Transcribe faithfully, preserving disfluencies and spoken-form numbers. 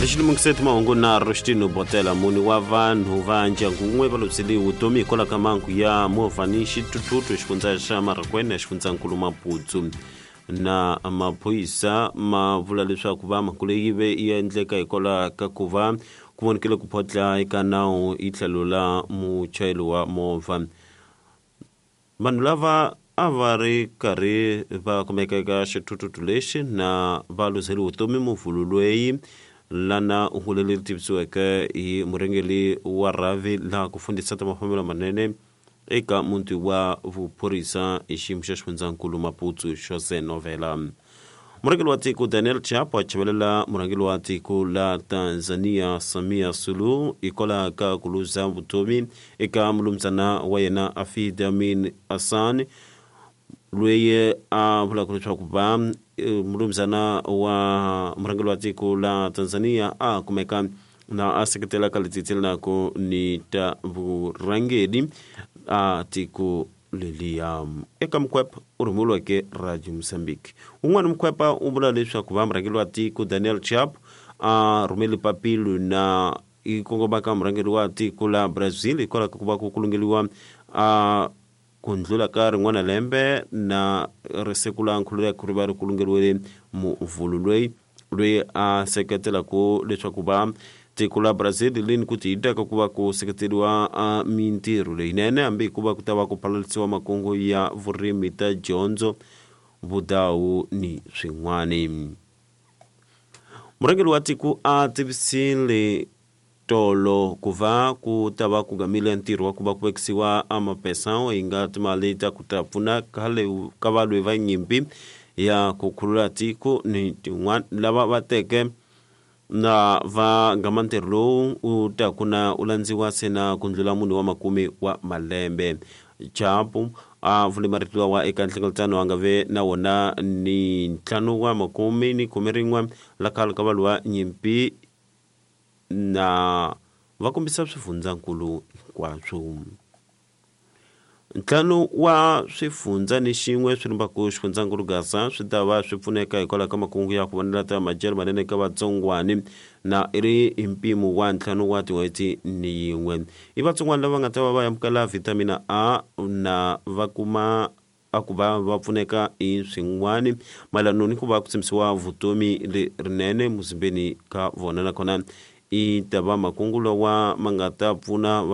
Xilemukiseti mahungu na Rostino Botela. Mune wa vanhu va ndyangu wun'we va lovisele vutomi hikwalaho ka mhangu ya movha ni xithuthuthu xifundza xa Marakwena, xifundzankulu Maputsu. Na maphorisa ma vula leswaku va mhangu leyi ve yi endleka hikwalaho ka ku va ku vonekile ku photla eka nawu hi tlhelo la muchayeri wa movha. Vanhu lava a va ri karhi va kumeka eka xithuthuthu lexi na va luzele vutomi muvhulu loyi lana hungu leri tivisiweke hi murhangeri wa rhavi laha ku fundisa ta mafambelo manene eka muti wa vuphorisa hi xiyimo xa xifundzankulu Maputsu, Jose Novela. Murhangeri wa tiko Daniel Chapo a chavelela murhangeri wa tiko la Tanzania Samia Suluhu hikwalaho ka ku luza vutomi eka mulumuzana wa yena Afid Amin Hassan, loyi a vulaka leswaku va mulumuzana wa murhangeri wa tiko la Tanzania a kumeka na a seketela ka leti tselelaka ni ta vurhangeri a tiko leliya. Eka mukhwepa u rhumeriweke Radio Mozambique, un'wana mukhwepa u vula leswaku va murhangeri wa tiko Daniel Chapo a rhumele papilo na yi kongomaka murhangeri wa tiko la Brazil hikwalaho ka ku va ku kulungeliwa a ku ndlula ka rin'wana lembe na risiku la nkhululeko ri va ri kulungeriwile muvhulu loyi loyi a seketelaka leswaku va tiko la Brazil lini ku tiyiteka ku va ku seketeriwa a mintirho leyinene hambi hikuva ku ta va ku phalalisiwa makungu ya vurimi ta dyondzo, vudawu ni swin'wani. Murhangeri wa tiko a tivisile tolo ku va ku ta va ku gamile ntirho wa ku va ku vekisiwa a mapesa hi nga timali ta ku ta pfuna khale ka valwi va nyimpi ya ku khulula tiko ni tin'wana lava va teke na va ngama ntirho lowu u ta ku na u landziwa se na ku ndlula munhu wa makume wa malembe. Chapo a vule marito lawa eka nhlengeletano a nga ve na wona ni ntlhanu wa makume ni khume rin'we la khale ka valwi va nyimpi na va kombisa swifundzankulu hinkwaswo. Ntlhanu wa swifundza ni xin'we swi rimbaku xifundzankulu Gaza swi ta va swi pfuneka hikwalaho ka makungu ya ku vonela ta madyelo manene eka vatsongwani na i ri hi mpimo wa ntlhanu wa tin'hweti ni yin'we. I vatsongwana lava nga ta va va amukela vitamin A na va kuma a ku va va pfuneka hi swin'wani mayelana ni ku va ku tshembisiwa vutomi lerinene muzimbeni ka vona, nakona i ta va makungu lawa ma nga ta pfuna.